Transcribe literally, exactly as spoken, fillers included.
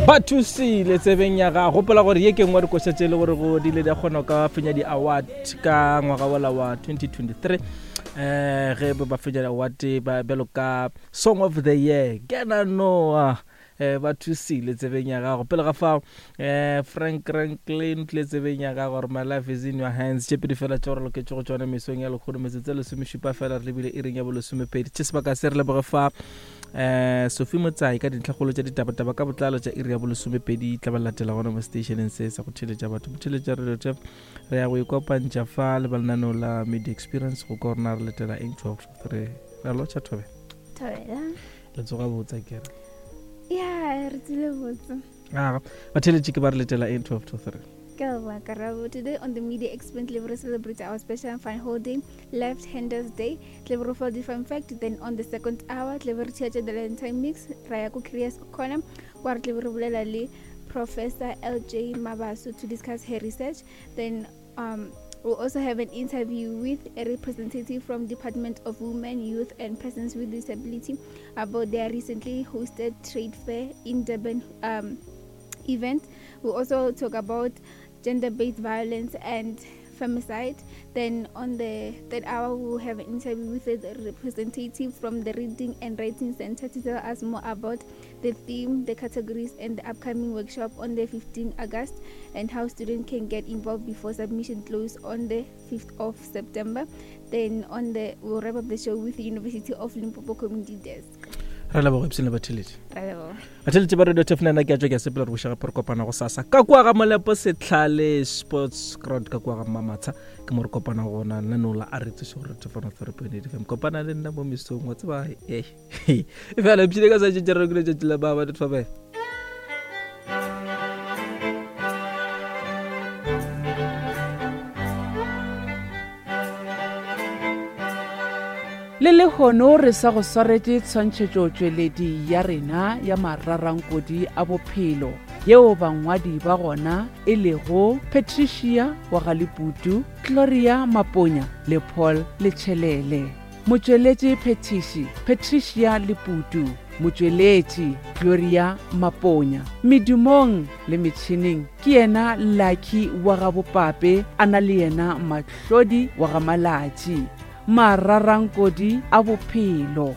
Ba thusile tsebeng ya gago. Gopola gore ye ke nngwe dikoša tše e le gore go di ile di kgona ka fenya di-award ka ngwaga wola wa twenty twenty-three. Eh ge ba fenya di-award ba bjalo ka Song of the Year, Kena Noah. Eh ba thusile tsebeng ya gago. Pele ga fao eh Frank Franklin tle tsebeng ya gago gore my life is in your hands. Tše pedi fela tše gore loketše go tšona mesong ya lekgono metsotso e lesomešupa fela re lebile iring ya bolesomepedi. Tše sebaka se re leboge fa eh Sophie Motsai ka dintlhakgolo tša ditabataba ka botlalo tša iri ya bolesomepedi tla ba latela gona mo stationeng se sa go theletša batho. Botheletša radio tef re ya go ikopantša fa le ba lenaneo la Media Experience go ka rona re letela eng twelve to three. Re a lotšha Thobela. Thobela. Le tsoga botsa ke re. Ya, re tsile botse. Ah, batheletši ke ba re letela eng twelve to three. Karabo. Today on the Media Experience, we celebrate our special and fun holiday, Left Handers Day. Clever for different fact. Then on the second hour, Clever Church the Lentine Mix, Raya Curious Corner, where Clever bolela le Professor L J Mabaso to discuss her research. Then um, we'll also have an interview with a representative from Department of Women, Youth and Persons with Disability about their recently hosted trade fair in Durban um, event. We'll also talk about gender-based violence and femicide. Then on the third hour, we'll have an interview with a representative from the Reading and Writing Center to tell us more about the theme, the categories, and the upcoming workshop on the fifteenth of August, and how students can get involved before submission close on the fifth of September. Then on the we'll wrap up the show with the University of Limpopo Community Desk. Re leboga epsene batheletši. Re leboga. Batheletši ba Radio Turf nna ke a tšwa ke a sepela re buša gape re kopana go sasa ka kua ga Molepo Setlhale Sports Ground ka kua ga Mamatsha ke mo re kopana gona lenaneo la a re tsoše gore Turf one three point eight F M. Kopana le nna mo mesong wa tseba e e fela epsene ka sa tšetše re ke letšatši la ba ba dithobela. Le lehono re sa go swaretše tshwantšhetšotšweledi ya rena ya mararankodi a bophelo yeo bangwadi ba gona e lego Patricia wa Galeputu, Gloria Maponya le Paul Letšhelele. Motšweletši Phetiši Patricia Leputu, motšweletši Gloria Maponya. Medumong le metšhineng ke yena Lucky wa ga Bopape, a na le yena Mahlodi wa ga Malatši. Mararankodi a bophelo.